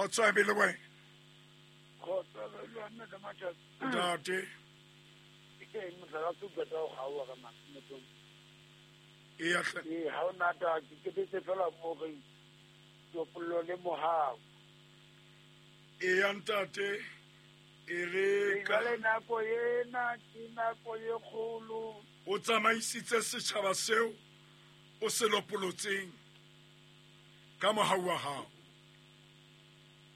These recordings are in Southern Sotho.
Kgotso e be le wena. Kgotso e be le wena ka matsatsi. Ntate. Ke motlakase o qeta go kgaoga ka mathomong. Eya hle. Ee, ha o nata ke ketetse fela mo re topollo le mohau. Eya ntate. E re ka Jwale nako ena ke nako e kgolo. O tsamaisitse setjhaba seo o se lopolotseng ka mohau wa hao.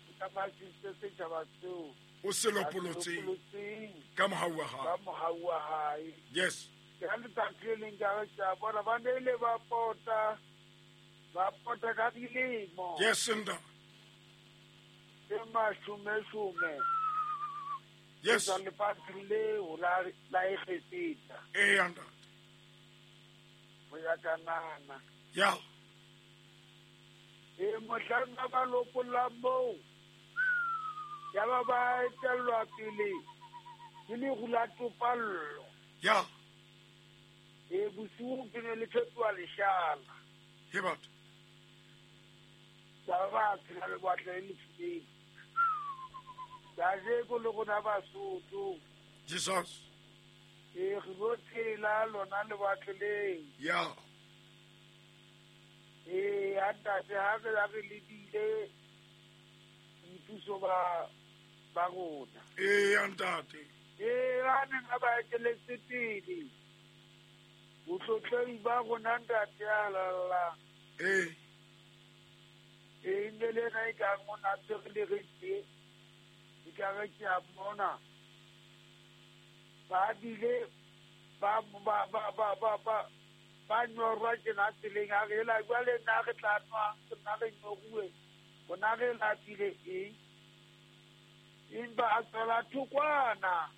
O tsamaisitse setjhaba seo o se lopolotseng ka mohau wa hao. Ka mohau wa hae. Yes. Ke ha letsatsi le leng ka re ke a bona ba ne ile ba pota, ba pota ka dilemo. Yes, nda. Tse mashome-shome. Yes. Tsa lefatshe leo la Egepeta. Ee, ntate. Ho ya Kanana. Ya. E mohlang ba ba lopollang moo, ya ba ba etellwa pele ke leru la topallo. Ya. E bosiu ke ne le fetoha leshala. He batho. Ya ba ba tshela lewatle le lefubedu. Kajeko le rona Basotho. Jesus. E re lo tshela lona lewatle leo. Ya. E a ntate ha re ya re lebile boipuso ba ba rona. E a ntate. E ba neng ba ba eteletse pele. Botlotlehi ba rona ntate a lalla. E. E ne le na e ka mona tshwere le re tse. E ka re ke a mona. Ba bile ba ba ba ba ba ba ba nyorwa tjena tseleng a re la jwale nna re tla nwa nna re nyoruwe rona re lapile eng empa a tswela thokwana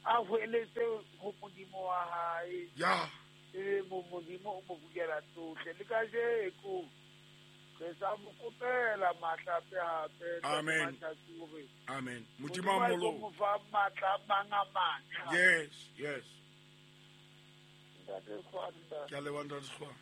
a hweletse ho Modimo wa hae. Ya. E mo Modimo o mo bukela tsohle le kajeko re sa mo kopela matla hape hape. Amen. Amen. Modimo a Modimo mo mo fa matla a mang a matjha. Yes, yes. Ntate Kgwanda. Ke a leboha, Ntate Kgwanda.